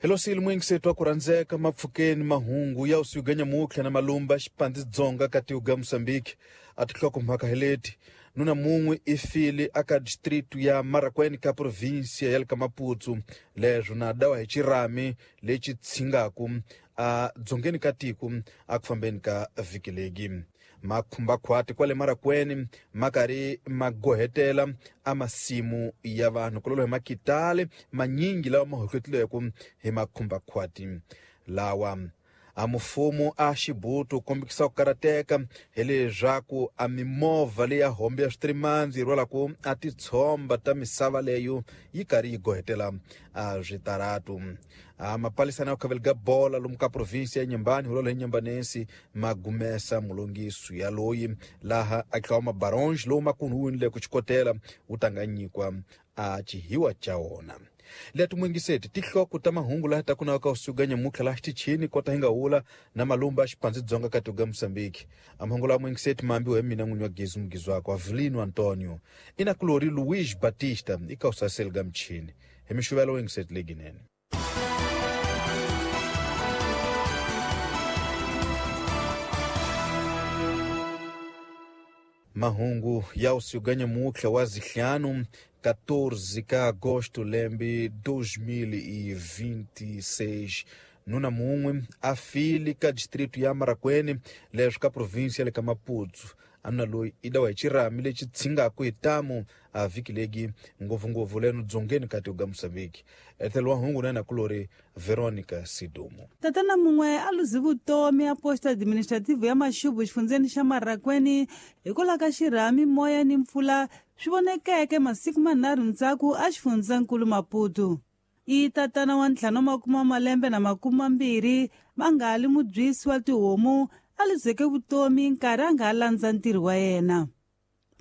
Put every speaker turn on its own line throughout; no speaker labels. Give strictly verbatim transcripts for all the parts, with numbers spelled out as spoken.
Hello sili mwingisetu wa kuranzeka mapfukeni mahungu ya usuganya mutlha na malumba xipandzi dzonga ka tiuga Mozambique atihloko mhaka heleti nuna mun'we i file aka distrito ya Marracuene ka província ya le ka Maputo leswo na dawa hi xirhami lexi tshingaku a dzongeni ka tiko a ku fambeni ka vhiki legi makhumbakhwati kwale Marracuene ma karhi ma gohetela a masimu ya vanhu kulolo hi makitale manyingi lawa ma hohlotileko hi makhumbakhwati lawa a mufumo a xibutu kombisa ku karateka hi leswaku a mimovha leya hombe ya switrimandzi yi rhwalaku a titshomba ta misava leyo yi karhi yi gohetela a switaratu a mapalisana ya khaveli ga bola lomu ka provinsi ya Nyembani hulolo hi Nyembanensi ma gumesa mulongiso ya loyi laha a tlawa mabaronge lowu makunhuwini ku xikotela wu tanganyikwa a chihiwa cha wona. Letu mwingiseti tihloko ta mahungu laha ta kunaka usuganya mutlha laha xitichini kota hi nga wula na malumba xipandzi dzonga ka tiuga Mozambique. A mahungu laha mwingiseti mambiwa hi mina n'winyi wa Gezu Mugizi wakwe Avelino Antonio ina kulori Luiz Batista ika usaseli ga mchini hi mixuvelo wingiseti leginene. Mahungu ya usuganya mutlha wa zihlanu quatorze ka agosto lembe dois mil e vinte e seis nuna mun'we a file ka distrito ya Marracuene leswo ka província ya le ka Maputo anuna loyi i dawa hi xirhami lexi tshingaku hi tamu a vhiki legi ngopfungopfu leno dzongeni ka tiuga Mozambique. Ethelo wa hungu na yena kulori Veronica Sidumo.
Tatana mun'we a luzi vutomi a posto administrative ya Maxubu xifundzeni xa Marracuene hikwalaho ka xirhami moya ni mpfula swi vonekeke masiku manharhu ndzhaku a xifundzankulu Maputo. I tatana wa ntlhanu wa makume wa malembe na makume mambirhi va nga li mubyisi wa tihomu a luzeke vutomi nkarhi a nga ha landza ntirho wa yena.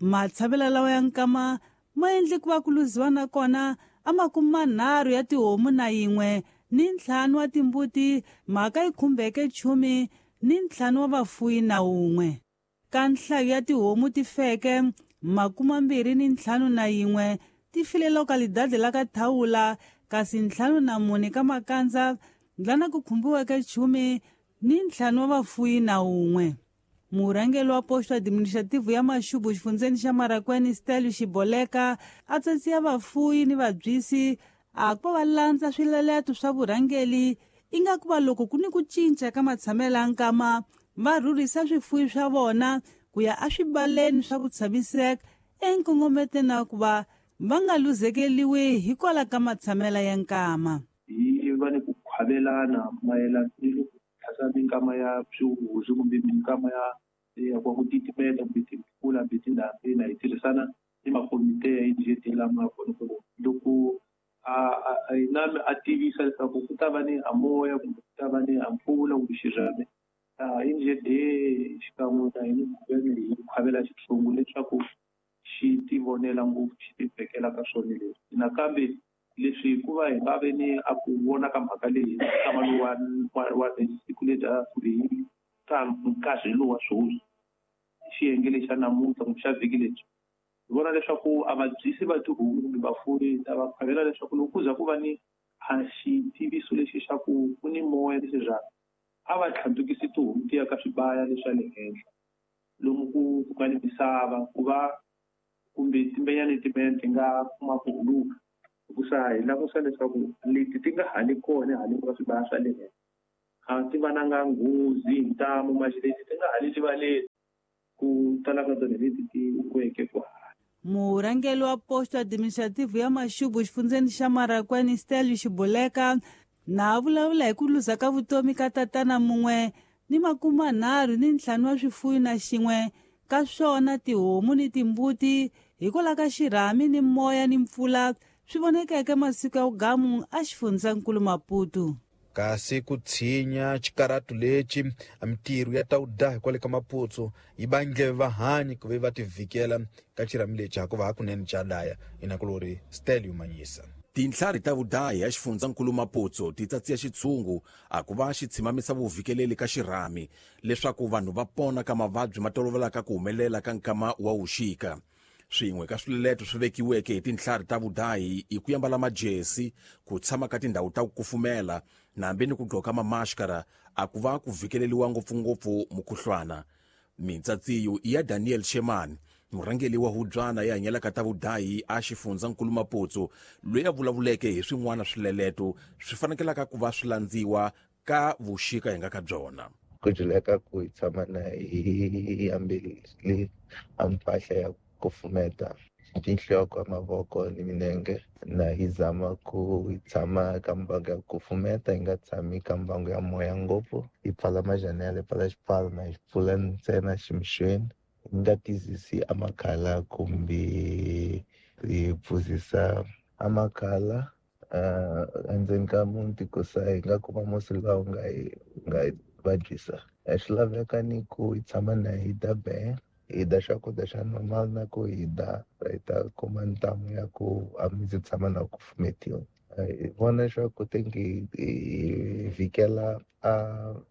Matshamelo lawa ya nkama ma endle ku va ku luziwa nakona a makume manharhu ya tihomu na yin'we ni ntlhanu wa timbuti mhaka yi khumbeke chumi ni ntlhanu wa vafuyi na wun'we. Ka nhlayo ya tihomu ti feke makume mambirhi ni ntlhanu na yin'we ti file lokalidade la ka Thawula kasi ntlhanu na mune ka Makandza lana ku khumbiweke chumi ni ntlhanu wa vafuyi na wun'we. Murhangeri wa posto administrative ya Maxubu xifundzeni xa Marracuene Stelio Xiboleka a tsatsiya vafuyi ni vabyisi a ku va landza swileleto swa vurhangeri ingaku va loko ku ni ku cinca ka matshamelo ya nkama va rhurhisa swifuyi swa vona ku ya eswibaleni swa ku tshamiseka enkongometeni wa ku va va nga luzekeriwi hikwalaho ka matshamelo ya nkama.
Hi va ni ku khwavelana mayelana ni loko tlhasa minkama ya swihuzu kumbe minkama ya ya ku titimela kumbe timpfula kumbe tindhambi na hi tirhisana ni makomite ya N G D lama kona ku loko a a nami a tivisa leswaku ku ta va ni a moya kumbe ku ta va ni a mpfula kumbe xirhami a N G D xikan'we na hina hi khwavela xitshungu leswaku xi tivonela ngopfu xi tivekela ka swona leswi. Nakambe leswi hikuva hi nga ve ni a ku vona ka mhaka leyi nkama lowu wa wa siku leri kumbe hi ka nkarhi lowu wa sweswi xiyenge lexi xa namuntlha kumbe xa vhiki lebyi hi vona leswaku a vabyisi va tihomu kumbe vafuwi ta va khwavela leswaku loko ku za ku va ni a xitiviso lexi xa ku ku ni moya ni xirhami a va tlhandlukisi tihomu ti ya ka swibaya leswa le henhla lomu ku ku nga ni misava ku va kumbe timbenyana timbenyana ti nga kuma ku huluka hikusa hi langusa leswaku leti ti nga hali kona haleni ka swibaya swa le henhla a ti va nanga nghozi hi ntamu maxi leti ti nga hali rivaleni ku tala ka tona leti ti weke ku hala.
Murhangeri wa posto administrative ya Maxubu xifundzeni xa Marracuene Stelio Xiboleka na vulavula hi ku luza ka vutomi ka tatana mun'we ni makume manharhu ni ntlhanu wa swifuyi na xin'we ka swona tihomu ni timbuti hikwalaho ka xirhami ni moya ni mpfula swi vonekeke masiku ya vugamu a xifundzankulu Maputo.
Kasi ku tshinya xikaratu lexi mintirho ya ta vudahi kwale ka Maputo yi vange vahanyi ku ve va tivhikela ka xirhami lexi hakuva hakunene xa daya inakulori Stelio Manyisa.
Tintlhari ta vudahi ya xifundzankulu Maputo ti tsatsiya xitshungu a ku va xi tshimamisa vuvikeleli ka xirhami leswaku vanhu va pona ka mavabyi ma tolovelaka ku humelela ka nkama wa wuxika. Swin'we ka swileleto swi vekiweke hi tintlhari ta vudahi i ku yambala majesi, ku tshama ka tindhawu ta ku kufumela na hambi ni ku gqoka mamaskara a ku va ku vhikeleliwa ngopfungopfu mukhuhlwana. Mintsatsiyo i ya Daniel Sheman, murhangeri wa hubyana ya hanyelaka ta vudahi a xifundzankulu Maputo, loyi a vulavuleke hi swin'wana swileleto swi fanekelaka ku va swi landziwa ka vuxika hi nga ka byona.
Ku juleka ku hi tshama na hi ambele a mpahla ya kufumeta tinhloko, mavoko ni minenge, na hi zama ku hi tshama ka mbangu ya kufumeta, hi nga tshami ka mbangu ya moya ngopfu, hi pfala majanela, hi pfala xipfalo na hi pfula ntsena ximixweni, hi nga tizisi amakhala kumbe hi pfuzisa amakhala uh, endzeni ka muti ku sa hi nga kuma musi lawa wu nga hi nga hi vabyisa. Swi laveka ni ku hi tshama na hi dya be, hi dya swakudya swa normal na ku hi dya hi ta kuma ntamu ya ku a mi ndzi tshama na ku kufumetiwa. Hi vona leswaku tingi hi vhikela a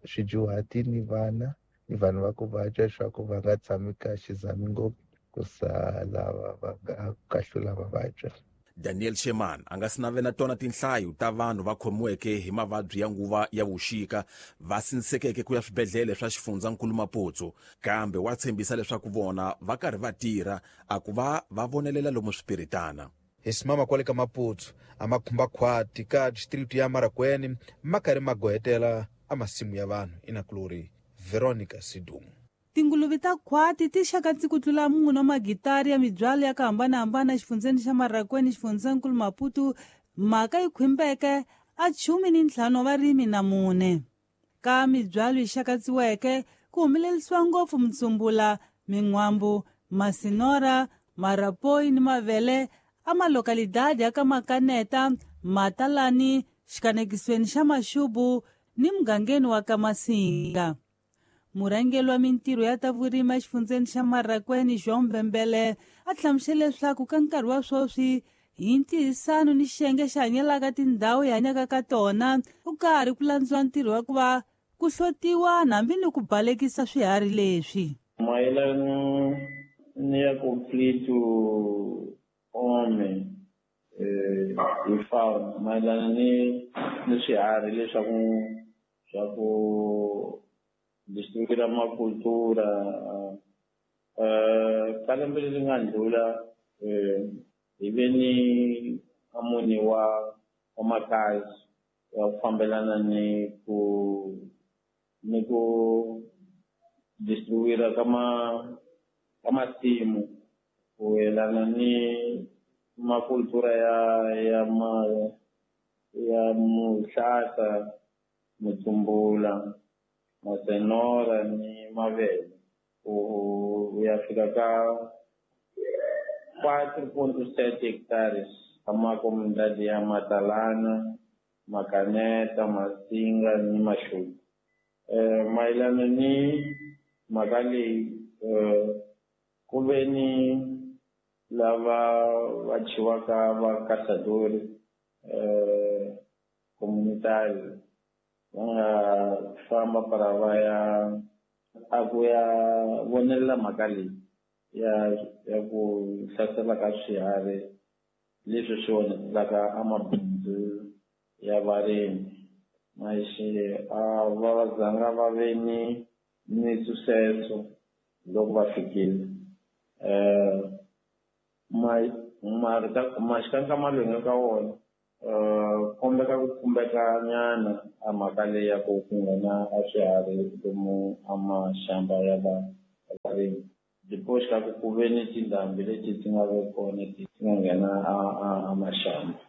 swidyuhati ni vana ni vanhu va ku vabya leswaku va nga tshami ka xizami ngopfu ku sa lava va nga kahlula va vabya.
Daniel Sheman a nga si navela tona tinhlayo ta vanhu va khomiweke hi mavabyi ya nguva ya vuxika va sindzekeke ku ya swibedhlele swa xifundzankulu Maputo, kambe wa tshembisa leswaku vona va karhi va tirha a ku va va vonelela lomu swipiritana.
Hi simama kwale ka Maputo a makhumbakhwati ka district ya Marracuene ma karhi ma gohetela a masimu ya vanhu. Inakulori Veronica Sidumo.
Tinguluve ta khwati ti xakatsi ku tlula mune wa magitari ya mibyalo ya ku hambanahambana exifundzeni xa Marracuene, xifundzankulu Maputo, mhaka yi khwimbeke a chumi ni ntlhanu wa varimi na mune. Ka mibyalo yi xakatsiweke ku humelerisiwa ngopfu mutsumbula, min'wambu, masinora, marapoi ni mavele a malokalidadi ya ka Makaneta, Matalani, xikanekisweni xa Maxubu ni mugangeni wa ka Masinga. Murhangeri wa mintirho ya ta vurimi exifundzeni xa Marracuene, João Mbembele, a hlamusele leswaku ka nkarhi wa sweswi hi ntirhisano ni xiyenge xi hanyelaka tindhawu hi hanyaka ka tona ku karhi ku landziwa ntirho wa ku va ku hlotiwa hambi ni ku balekisa swiharhi leswi.
Mayelana ni ya conflito homem eh, hi fauna, mayelana ni ni swiharhi leswaku swa ku destruir ma cultura eh ka lembe leri nga ndlula eh hi ve ni amuni wa wa makazi wa ku fambelana ni ku ni ku destruir ka ma ka masimu ku yelana ni makultura ya ya ma ya muhlata, mutsumbula, masenora ni mavele ku ya fika ka quatro ponto sete hectares ka makomunidade ya Matalana, Makaneta, Masinga ni Maxubu. Eh, mayelana ni mhaka leyi eh, ku ve ni lava va chiwaka va caçadores eh, comunitários va nga famba para va ya a ku ya vonelela mhaka leyi ya ya ku hlasela ka swiharhi leswi swi onhetelaka a mabindzu ya varimi. Mas a va zanga va ve ni ni sucesso loko va fikile. Eh, ma loyi nga ka wona eh kombeka ku khumbeka nyana a mhaka leyi ya ku ku nghena a swiharhi lomu a maxamba ya va varimi. Depois ka ku ku ve ni tindhambi leti ti nga ve kona ti nga nghena a a a maxamba.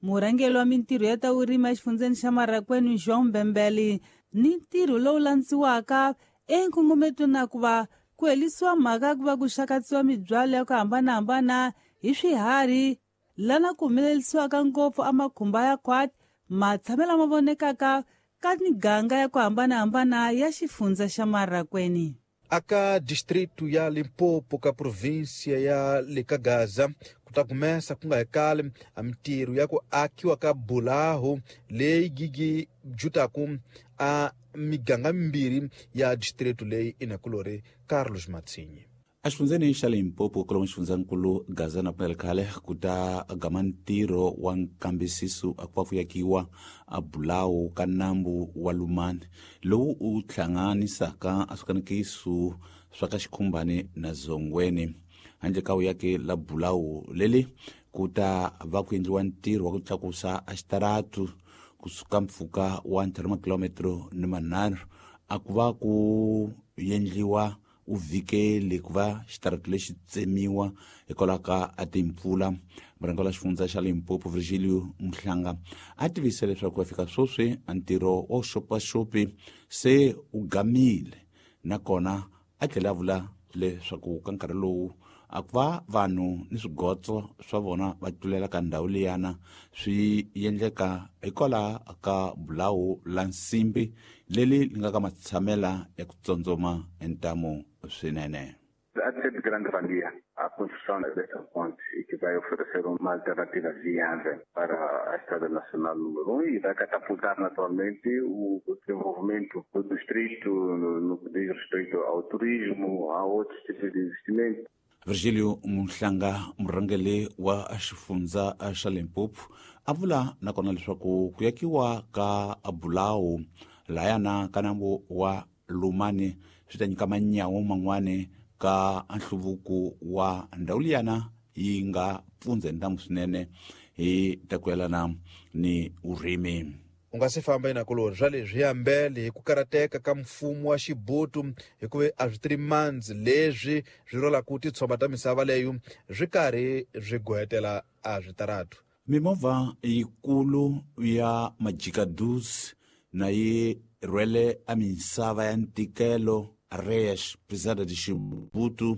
Murhangeri wa mintirho ya ta vurimi exifundzeni xa Marracuene, João Mbembele, ni ntirho lowu landziwaka enkongometweni na ku va ku herisiwa mhaka ku va ku xakatsiwa mibyalo ya ku hambanahambana hi swiharhi lana ku humelerisiwaka ngopfu a makhumba ya khwati matshamelo ma vonekaka ka miganga ya ku hambanahambana ya xifundza xa Marracuene.
Aka distrito ya Limpopo ka província ya Lekagaza ku ta kumesa ku nga hekali a mintirho ya ku akiwa ka bulaho leyi gigi jutaku a miganga mimbirhi ya distrito leyi inakulori Carlos Matsinyi.
Exifundzeni xa Limpopo kwalomu xifundzankulu Gaza na pfumela khale ku ta gama ntirho wa nkambisiso a ku va ku yakiwa a bulawu ka nambu wa Lumani lowu u hlanganisaka a swikanekiso swa ka Xikhumbani na Zongweni. Handle ka uyaki la bulawu leli ku ta va ku endliwa ntirho wa ku tlakusa a xitaratu kusuka mpfhuka wa ntlhanu makilometro ni manharhu a ku va ku endliwa u vhikeli ku va xitaratu lexi tsemiwa hikwalaho ka a timpfula. Murhangeri wa xifundza xa Limpopo Virgilio Mhlanga a tivise leswaku ku fika sweswi a ntirho wa xopaxopi se u gamile, nakona a tlhela a vula leswaku ka nkarhi lowu a ku va vanhu ni swigotso swa vona va tlulela ka ndhawu liyana swi endleka hikwalaho ka bulawu la nsimbi leri li nga ka matshamela ya ku tsotsoma ntamu swinene.
Há de ser de grande valia a construção desta ponte e que vai oferecer uma alternativa viável para a Estrada Nacional número um e vai catapultar naturalmente o desenvolvimento do distrito no, no que diz respeito ao turismo, a outros tipos de investimento.
Virgilio Mhlanga, murhangeri wa xifundza xa Limpopo, a vula nakona leswaku ku yakiwa ka bulawu layana ka nambu wa Lumani swi ta nyika manyawo man'wani ka nhluvuko wa ndhawu liyana yi nga pfundza ntamu swinene hi ta ku yelana ni vurimi.
U nga se famba inakulori swa leswi yambele hi ku karateka ka mfumo wa Xibutu hikuva a swi three months leswi swi rolaka titshomba ta misava leyo swi karhi swi gohetela a switaratu.
Mimovha yikulu ya majikadus na yi rhwele a misava ya ntikelo Reis Pesada de Xibutu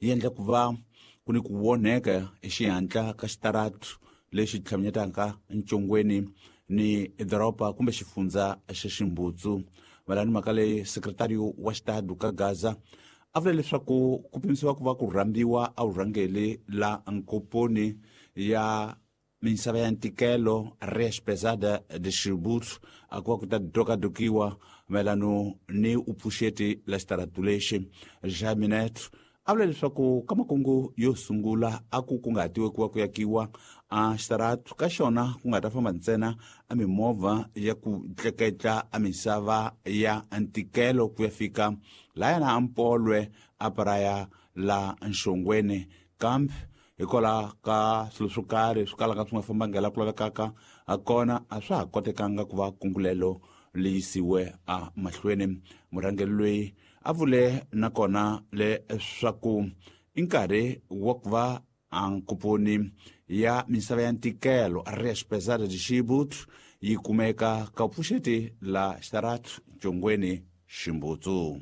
yi endla ku va ku ni ku voneka exihatla ka xitaratu lexi tlhaminyetaka ncongweni ni doroba kumbe xifundza xa Ximbutsu. Malani mhaka leyi sekretariyo wa xitadu ka Gaza a vula leswaku ku pimisiwa ku va ku rhambiwa a vurhangeri la nkoponi ya misava ya ntikelo Reis Pesada de Xibutu a ku va ku ta dokadokiwa mayelano ni upfuxeti la xitaratu lexi. Jaminet a vula leswaku ka makungu yo sungula a ku kunguhatiwe ku va ku yakiwa a xitaratu ka xona ku nga ta famba ntsena a mimovha ya ku tleketla a misava ya ntikelo ku ya fika layana a Mpolwe a paraya la Nxongweni, kambe hikwalaho ka swilo swo karhi swi kalaka swi nga fambanga laha ku lavekaka a kona a swa ha kotekanga ku va kungulelo leyi yisiwe a mahlweni. Murhangeri loyi a vule nakona leswaku i nkarhi wa ku va a nkoponi ya misava ya ntikelo Reis Pesada de Xibutu yi kumeka ka pfuxeti la xitaratu Ncongweni Ximbutsu.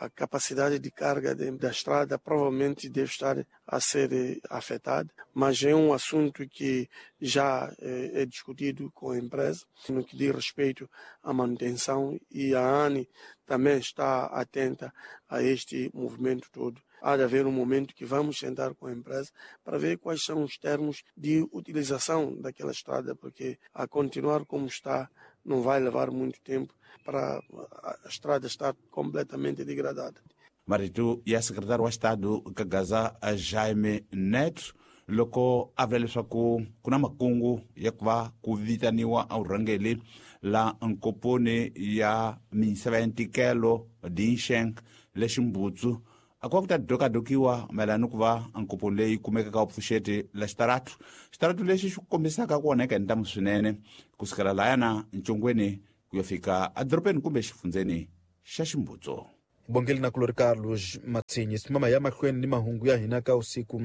A capacidade de carga de, da estrada provavelmente deve estar a ser afetada, mas é um assunto que já é, é discutido com a empresa, no que diz respeito à manutenção, e a ANE também está atenta a este movimento todo. Há de haver um momento que vamos sentar com a empresa para ver quais são os termos de utilização daquela estrada, porque a continuar como está não vai levar muito tempo para a estrada estar completamente degradada.
Marito ya sekretari wa xitadu ka Gaza Jaime Neto loko a vula leswaku ku na makungu ya ku va ku vitaniwa a vurhangeri la nkoponi ya misava ya ntikelo Dinsheng le Ximbutsu a ku va ku ta dokadokiwa mayelana ni ku va nkoponi leyi kumekaka pfuxeti la xitaratu. Xitaratu lexi xi kombisaka ku onheka hi ntamu swinene kusukela layana Ncongweni ku ya fika edorobeni kumbe xifundzeni xa Ximbutsu.
Bongeli na kulori Carlos Matsinyi simama ya mahlweni ni mahungu ya hina ka usiku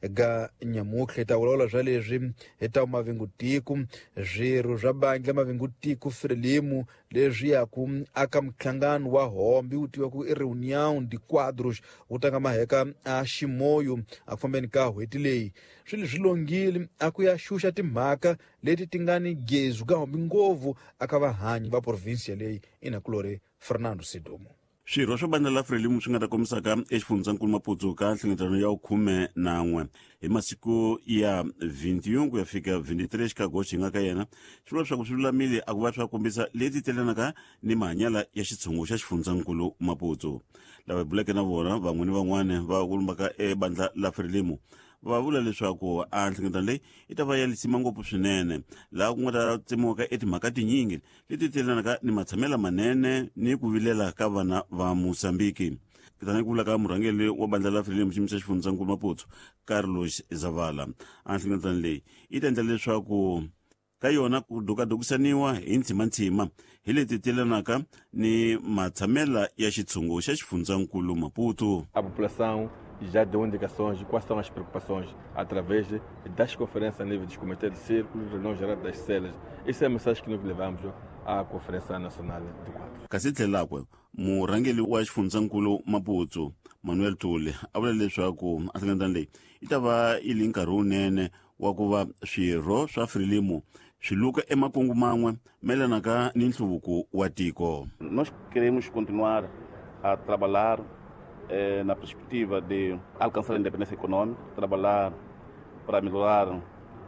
ga nyamutlha hi ta vulavula swa leswi hi ta mavingutiku swirho swa bandla mavingutiku Frelimo leswi yaku aka mhlangano wa hombi wu tiviwa ku i Reunião de Quadros wu tanga maheka a Ximoyo a ku fambeni ka n'hweti leyi. Swilo swi longile a ku ya xuxa timhaka leti ti nga ni gezu ka hombi ngopfu aka vahanyi va provinsia leyi inakulori Fernando Sidumo.
Swirho swa bandla la Frelimo swi nga ta kombisaka exifundzankulu Maputo ka nhlengeletano ya khume na n'we hi masiku ya vintiun ku ya fika vintitrés ka agosto hi nga ka yena swi vula leswaku swi lulamile a ku va swa kombisa leti telanaka ni mahanyela ya xitshungu xa xifundzankulu Maputo. Lava hi buleke na vona van'we ni van'wana va kulumbaka ebandla la Frelimo va vula leswaku a nhlengeletano leyi yi ta va ya lisima ngopfu swinene laha ku nga ta tsemiwaka etimhaka tinyingi leti telanaka ni matshamela manene ni ku vilela ka vana va Mozambiki. Tanihi ku vula ka murhangeri wa bandla la Frelimo xiyimo xa xifundzankulu Maputo Carlos Zavala, a nhlengeletano leyi yi ta endla leswaku ka yona ku dukadukisaniwa hi ntshimanthsima hi leti telanaka ni matshamela ya xitshungu xa xifundzankulu Maputo.
A população já deu indicações de quais são as preocupações através das conferências a nível dos comitês de círculos, reuniões gerais das celas. Essa é a mensagem que nós levamos à Conferência Nacional do Quadro.
Kasi tlhelakwe murhangeri wa xifundzankulu Maputo Manuel Tule a vula leswaku a nhlengeletano leyi yi ta va yi li nkarhi wunene wa ku va swirho swa Frelimo swi luka emakungu man'we mayelanaka ni nhluvuko wa tiko.
Nós queremos continuar a trabalhar eh, na perspectiva de alcançar a independência econômica, trabalhar para melhorar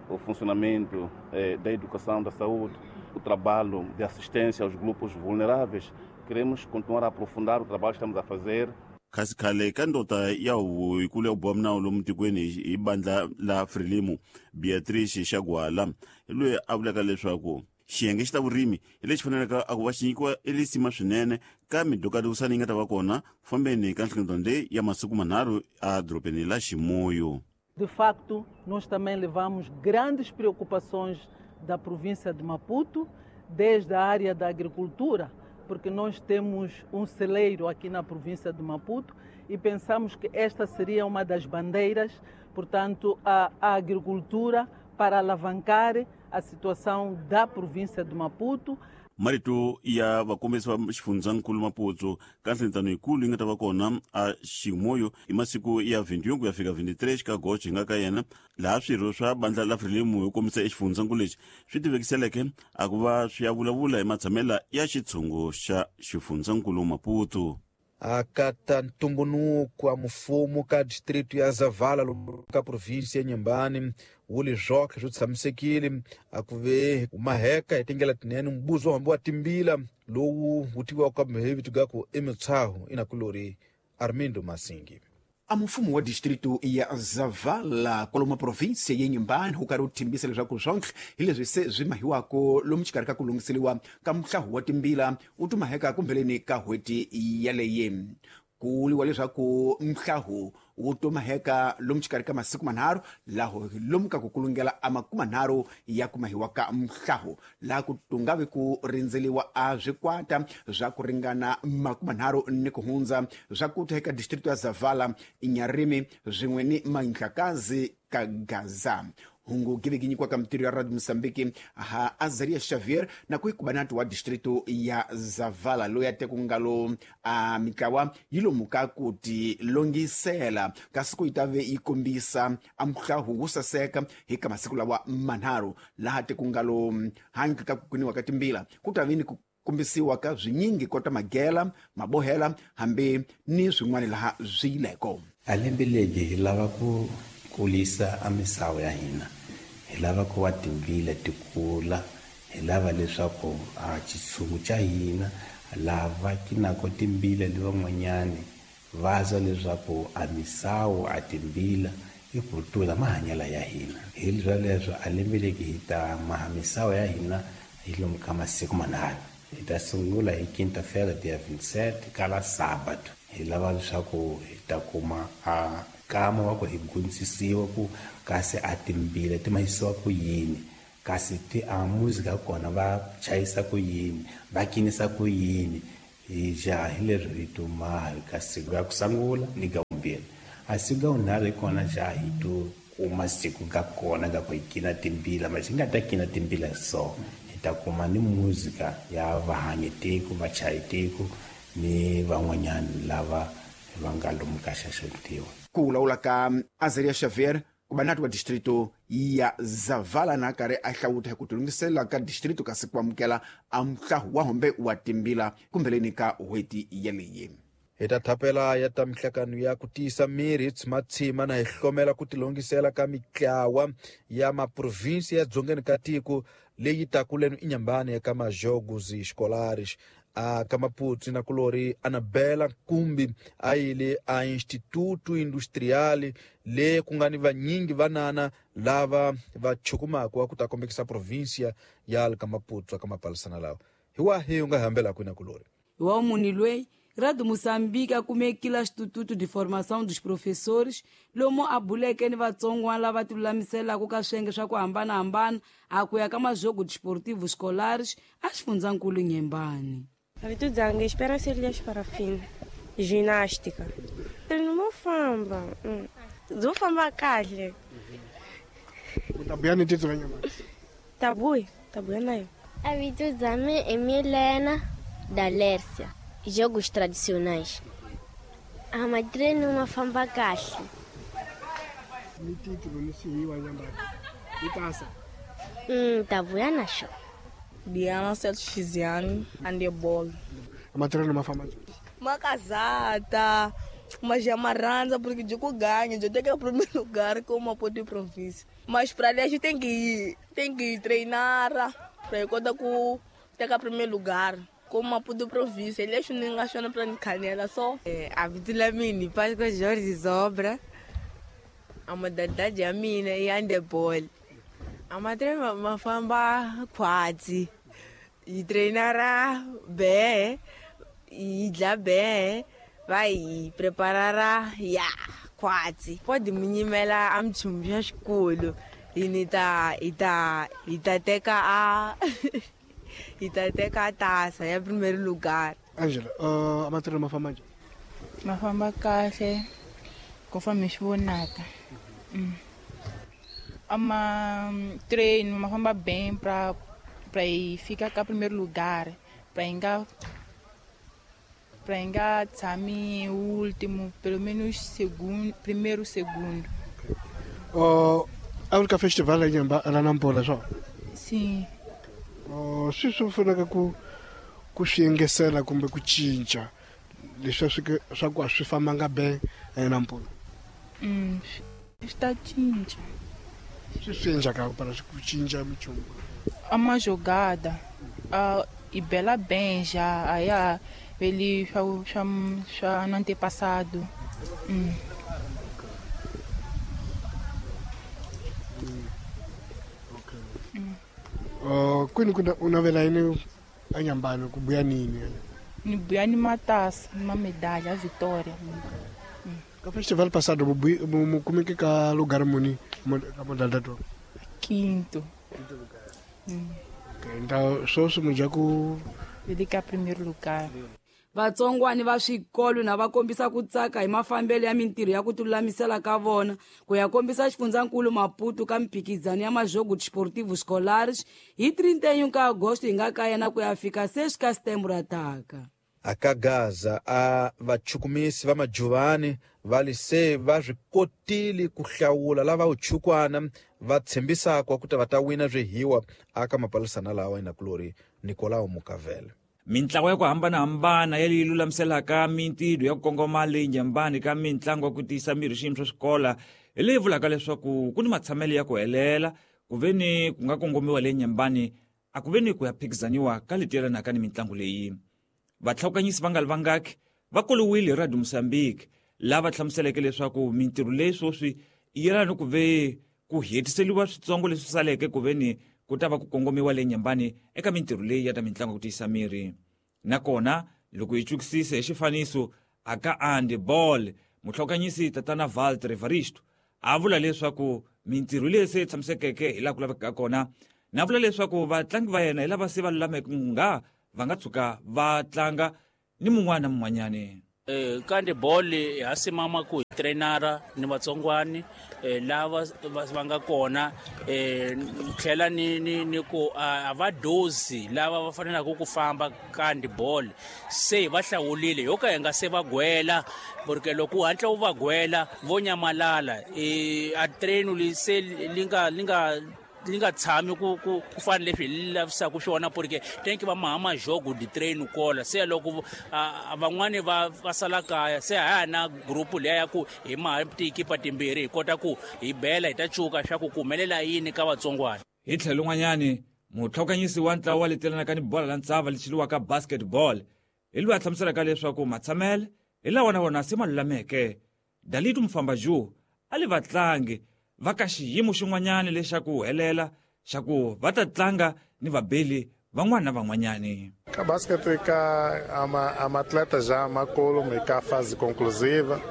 o funcionamento eh, da educação, da saúde, o trabalho de assistência aos grupos vulneráveis. Queremos continuar a aprofundar o trabalho que estamos a fazer.
Kasi khale ka ndota ya huvo yikulu ya ku boha minawu lomu tikweni hi bandla la Frelimo Beatrice Xagwala hi loyi a vulaka leswaku xiyenge xi ta vurimi hi lexi faneleke a ku va xi nyikiwa elisima swinene ka midukadukisano yi nga ta va kona fambeni ka nhlengeletano leyi ya masiku manharhu edorobeni la Chimoio.
De facto, nós também levamos grandes preocupações da província de Maputo, desde a área da agricultura, porque nós temos um celeiro aqui na província de Maputo e pensamos que esta seria uma das bandeiras, portanto, a, a agricultura para alavancar a situação da província de Maputo.
Marito ya vakombisi va xifundzankulu Maputo ka nhlengeletano yikulu yi nga ta va kona a Chimoio hi masiku ya vintiun ku ya fika vintitrés ka agosto hi nga ka yena laha swirho swa bandla la Frelimo hi kombisa exifundzankulu lexi swi tivekiseleke a ku va swi ya vulavula hi matshamela ya xitshungu xa xifundzankulu Maputo.
Akata ntumbunuko wa mfumo ka distrito ya Zavala ka província ya Inhambane wu li zwoke swi tshamisekile a ku ve maheka hi tindlela tinene mbuzo hambi wa timbila lowu wu tiviwaka hi vito ga ku i mitshaho inakulori Armindo Masingi.
A mfumo wa distrito ya Zavala kwalomu província ya Inhambane wu karhi wu thimbisa leswaku swonke hi leswi se swi mahiwako lomu xikarhi ka ku lunghiseliwa ka muhlahu wa timbila wu tumaheka kumbheleni ka n'hweti yaleyi. Ku vuriwa leswaku mhlahu wu tumaheka lomu xikarhi ka masiku manharhu laho lomu ka ku kulungela a makumanharhu ya kumahiwa ka mhlahu laha ku tungavi ku rindzeliwa a swikwata swa ku ringana makumanharhu ni ku hundza swa ku eka distrito ya Zavala, Inharime swin'we ni Manhlakazi ka Gaza. Hungu giviki nyikiwaka mitirho ya Radio Mozambique ha Azaria Xavier na ku ikubanati wa distrito ya Zavala loyi a teku ngalo a mitlawa yi lomuka ku ti longisela kasi ku yi ta ve yi kombisa a muhlahu wo saseka hi ka masiku lawa manharhu laha teku ngalo handle ka ku kuniwa ka timbila ku ta ve ni ku kombisiwa ka swinyingi kota magela mabohela hambi ni swin'wana laha swi yileko.
A lembe leri hi lava ku kulisa a misawu ya hina, hi lava ku va timbila ti kula, hi lava leswaku a xitshungu xa hina lava kinako timbila le van'wanyani va zwa leswaku a misawu a timbila i kultura mahanyelo ya hina. Hi leswo a lembe leri hi ta maha misawu ya hina hi lomu ka masiku manharhu. Hi ta sungula hi quinta-feira dia vinte e sete kala sábado. Hi lava leswaku hi ta kuma a kama wa ku hi gundzisiwa ku kasi a timbila ti mahisiwa ku yini, kasi ti a music ya kona va chayisa ku yini, va kinisa ku yini. Hi jaha hi leswi hi tumaha ka siku ya ku sungula ni ga vumbirhi. A siku ga vunharhu hi kona jaha hi tu kuma siku ga kona ga ku hi kina timbila, ma xi nga ta kina timbila so hi ta kuma ni muzika ya vahanyi tiko, vachayi tiko ni van'wanyani lava va nga lomu ka xaxametiwa.
Ku vulavula ka Azaria Xavier kubanati wa distrito ya Zavala na karhi a hlawuta hi ku tilunghisela ka distrito kasi ku amukela a muhlahu wa hombe wa timbila kumbheleni ka n'hweti yeleyi.
Hi ta thapela ya ta mihlakano ya ku tiyisa miri hi tshimatshima na hi hlomela ku tilongisela ka mitlawa ya maprovinsi ya dzongeni ka tiko leyi takulenu inyambani eka majogos escolares a ka Maputo na kulori Anabela Nkumbi a yile a Instituto Industrial le ku nga ni vanyingi vanana lava va chukumaka ku ta kombekisa provinsia ya ka Maputo ka mapalisana lawa hi wahi u nga hambela kwini kulori
wa munhu loyi Radio Moçambique akumekile Instituto de Formação dos Professores lomu a buleke ni vatsongwana lava tilulamiselaka ka swiyenge swa ku hambanahambana a ku ya ka majogo desportivo escolares a xifundzankulu Inhambane.
Vito dzanga Esperança Elias Parafina, ginástica. Treino mo famba, dzo famba kahle.
Tabuya ni titso nyama.
Tabuya, tabuya nayo.
A vito dzame é Milena da Lércia. Jogos tradicionais. A madrena uma famba kahle.
Ni titlo ni sihiwa nyamba. Ni pasa.
Hum, tabuya nasho.
Diana Celso Xiziane, handebol.
A madrena uma famba.
Uma casada, uma jamarranza, porque eu ganho, eu tenho que ir primeiro lugar como apoio de província. Mas para ali a gente tem que ir, tem que ir treinar para ir contar com ter primeiro lugar. Como apoio de província, ele acha que não achando para canela só.
É, a vida mini, Páscoa Jorge Zobra, a modalidade a mina e handebol. A madre uma famba quase e treinará bem e já bem vai preparará ya quase. Pode me mela am chumba escola e nita ita ita teka a e tá até com a taça, é primeiro lugar.
Angela, uh, a matéria uma fama?
Uma fama kahle, conforme esbonata. Uma treino, uma fama bem para para ir ficar cá primeiro lugar, para ingar para ingar tami último, pelo menos segundo, primeiro segundo.
Uh, a única festival é em Nampula só?
Sim.
Oh, swi swi pfunaka ku ku swi engesela kumbe ku cinca leswi swi swa ku a swi fambanga be eNampula.
Mm, swi ta cinca.
Swi swi endlaka para ku cinca minchumu.
Uma jogada, a e bela bem já, aí a ele já já já no antepassado. Mm.
Uh, kwini kuna unavela yini eNyambane ku buya nini?
Ni buya ni matasa, uma medalha, a vitória. Mm.
Ka festival passado mu kumeke ka lugar muni ka modalidade?
Quinto.
Quinto lugar.
Mm.
Okay, então só se muja ku
vedika primeiro lugar.
Vatsongwani va swikolo na va kombisa ku tsaka hi mafambelo ya mintirho ya ku tilulamisela ka vona ku ya kombisa xifundzankulu Maputo ka mphikizano ya majogo desportivo escolares hi trinta e um ka agosto hi nga ka yena ku ya fika seis ka setembro ataka.
Aka Gaza a vachukumisi va majuvani va lise va swi kotile ku hlawula lava uchukwana va tshembisaka ku ta va ta wina swihiwa aka mapalisana lawa inakulori Nicolau Mukavele.
Mintlawa ya ku hambanahambana ya leyi lulamiselaka mintirho ya ku kongoma leyi Inhambane ka mintlangu ya ku tiyisa miri xiyimo xa xikola hi leyi vulaka leswaku ku ni matshamelo ya ku helela ku ve ni ku nga kongomiwa le Inhambane a ku ve ni ku ya phikizaniwa ka leti yelanaka ni mintlangu leyi. Vatlhawukanyisi va nga li vangaki va kolowiwile hi Radio Moçambique lava hlamuseleke leswaku mintirho leyi sweswi yi yelana ni ku ve ku hetiseliwa switsongo leswi saleke ku ve ni ku ta va ku kongomiwa le Inhambane eka mintirho leyi ya ta mintlangu ya ku tiyisa miri. Nakona loko hi chukisisa hi xifaniso aka handball muhlokanyisi tatana Walter Evaristo a vula leswaku mintirho leyi se tshamisekeke hi laha ku lavekaka kona na vula leswaku vatlangi va yena hi lava se va lulameke nga va nga tshuka va tlanga ni mun'wana na mun'wanyani.
Eh kandi ball ha simama ku trainara ni vatsongwani eh lava va nga kona eh tlhela ni ni ni ku a va dozi lava va fanelaka ku famba kandi ball se va hlawulile yo ka hi nga se va gwela porque loko u hatla u va gwela vo nyamalala eh a train li se li nga li nga li nga tshami ku ku ku fana leswi hi lavisaka swona porque tenki va maha jogo di train kola se loko van'wani va va sala kaya se ha na group leya ya ku hi maha tikipa timbirhi hi kota ku hi bela hi ta cuka swa ku kumelela yini ka vatsongwana.
Hi tlhelo n'wanyani mutlhokanyisi wa ntlawa wa letelanaka ni bola la ntsava lechiliwaka basketball hi loyi a hlamuselaka leswaku matshamele hi lawa na wona se ma lulameke. Dalitu Mfambaju a li vatlangi va ka xiyimo xin'wanyana lexaku helela xa ku va ta tlanga ni vabeli van'wana na van'wanyani.
Ka basket ka ama ama atleta já makolo me ka fase conclusiva,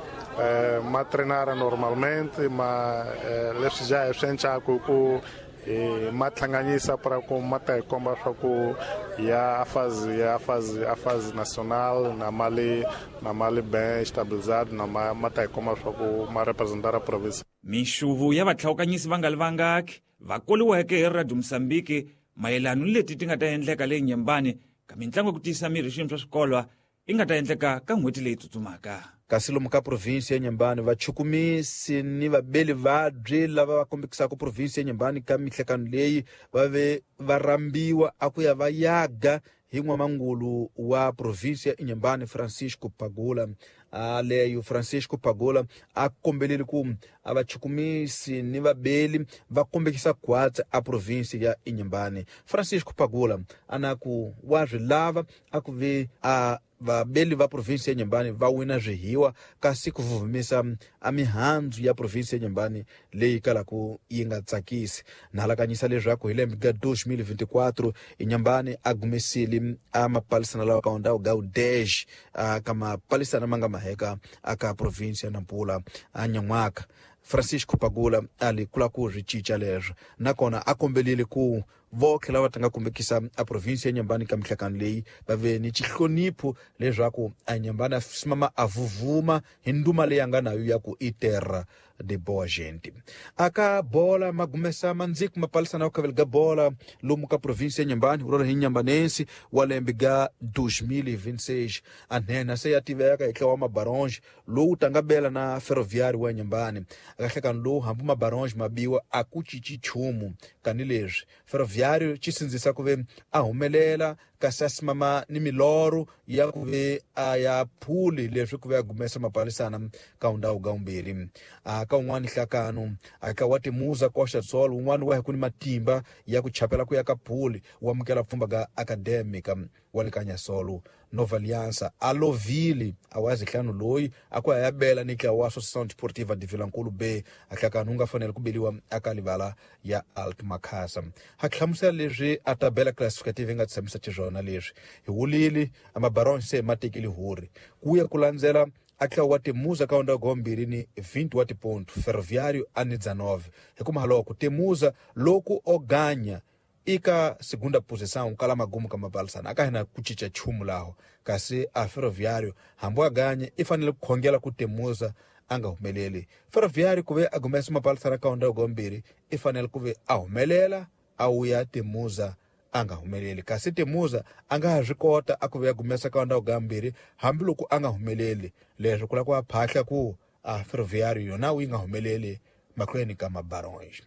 eh, ma treinar normalmente, ma eh, leswi já é swi ku e ma tlanganyisa para ku ma ta komba swa ku ya fase ya fase a fase nacional na mali na mali bem estabilizado na ma, ma ta komba swa ku ma representar a província.
Minxuvu ya vatlhawukanyisi va nga li vangaki va koliweke hi Radio Mozambique mayelana ni leti ti nga ta endleka leyi Nyembani ka mintlangu ya ku tiyisa miri xiyimo swa swikolo i nga ta endleka ka n'hweti leyi tsutsumaka.
Kasi lomu ka provinsi ya Nyembani vachukumisi ni vabeli vabyi lava va kombekisaka provinsi ya Nyembani ka mihlekano leyi va ve va rambiwa a ku ya va yaga hi n'wamangulu wa provinsi ya Nyembani Francisco Pagula. A leyo Francisco Pagula a kombelile ku a vachukumisi ni vabeli va kombekisa khwatsi a provinsi ya Nyembani. Francisco Pagula ana ku wa swi lava a ku ve a vabeli va provinsi ya Nyembani va wina swihiwa kasi ku vuvumisa a mihandzu ya provinsi ya Nyembani leyi kalaku yi nga tsakisi. Na halakanyisa leswaku hi lembe ga dois mil e vinte e quatro Nyembani a gumesile a mapalisana lawa ka ndhawu ga udej a ka mapalisana ma nga maheka aka provinsi ya Nampula a nyan'waka. Francisco Pagula ali kula ku swi cinca leswo nakona a kombelile ku votlhe lava ta nga kombekisa a provinsi ya Nyembani ka mihlekano leyi va ve ni xihlonipho leswaku a Nyembani a simama a vuvuma hi nduma leyi a nga nayo ya ku i terra de boa gente. Aka bola magumesa mandziku mapalisana wa khavela ga bola lomu ka provinsi ya Nyembani urora hi Nyambanense wa lembe ga dois mil e vinte e seis a nhenha se ya tiveka hi tlawa Mabaronge lowu tanga bela na Ferroviário wa Nyembani. Akahlekano lowu hambi Mabaronge mabiwa a ku cinci nchumu kani leswi Ferroviário xi sindzisa ku ve a humelela kasi a simama ni milorho ya ku ve a ya phuli leswi ku ve a gumesa mapalisana ka ndhawu ga umbirhi. A ka un'wana hlakano a ka wa timuza koxa tsolo un'wana wa hi ku ni matimba ya ku chapela ku ya ka phuli wa amukela pfhumba ga academic wa le ka Nyasolo Nova Aliança a lovile a wa zihlanu loyi a ku ya bela ni tlawa wa Associação Desportiva de Vilankulu B a hlakano nga fanele ku beliwa aka livala ya Alt Makhasa. Ha hlamusela leswi a tabela classificative nga tshamisa xiswona leswi hi wulile a Mabaron se ma tekile huri ku ya ku landzela a tlawa wa Temuza ka ndhawu ga mbirhi ni vinte wa tiponto Ferroviário a ni dezenove hikuva loko Temuza loko o ganya ika segunda posição kala magumu ka mapalisana aka hina ku cinca nchumu laho kasi a Ferroviário hambi a ganye i fanele ku khongela ku Temuza a nga humeleli. Ferroviário ku ve a gumesa mapalisana ka ndhawu ga mbirhi i fanele ku ve a humelela a wuya Temuza a nga humeleli kasi Temuza a nga ha swi kota a ku ve a gumesa ka ndhawu ga mbirhi hambiloko a nga humeleli leswi ku lava ku va phahla ku a Ferroviário yona yi nga humeleli mahlweni ka Mabaronge.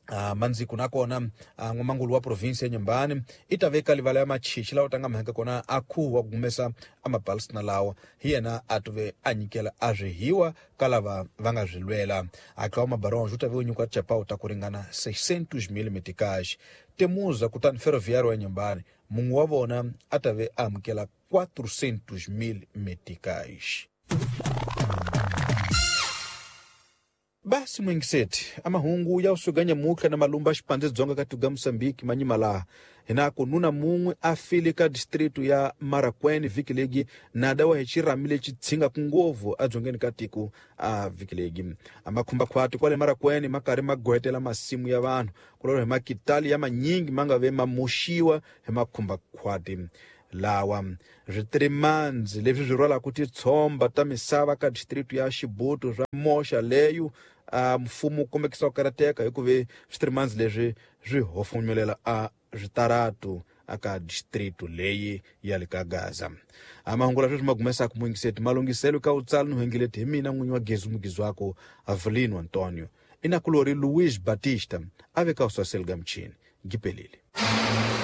Uh, mandziku nakona uh, n'wamangulu wa provinsi ya Nyembani i ta veka livala ya machichi lawa tanga mhaka kona a khuwa ku gumesa a mapalisana lawa hi yena a tuve a nyikela a swihiwa ka lava va nga swi lwela. A tlawa Mabaronge u ta ve u nyikiwa chapau ta ku ringana seiscentos mil meticais. Temuza kutani Ferroviário wa Nyembani mun'we wa vona a ta ve a amukela quatrocentos mil meticais. Basi mwingiseti amahungu ya usuganya mukha na malumba xipandze dzonga ka tuga Mozambique manyima laha hinako nuna mun'we a file ka distritu ya Marakwene vhiki legi nada wa hi xirhami lexi tshingaku ngopfu edzongeni ka tiko a vhiki legi. A makhumbakhwati kwale Marakwene ma karhi ma gohetela masimu ya vanhu kulolo hi makitali ya manyingi ma nga ve ma moxiwa hi makhumbakhwati lawa. Switirimandzi leswi swi rhwalaka titshomba ta misava ka distritu ya Xibutu swa moxa leyo a mfumo wu kombekisa ku karateka hikuva switirimandzi leswi swi hofonyelela a switaratu aka distritu leyi ya le ka Gaza. A mahungu leswi ma gumesaka muyingiseti malunghiselo ka u tsala ni huengeleti hi mina n'winyi wa Gezi Mugizwako Avelino Antonio. Inakulori Luiz Batista aveka uswaseliga mchini gipelile.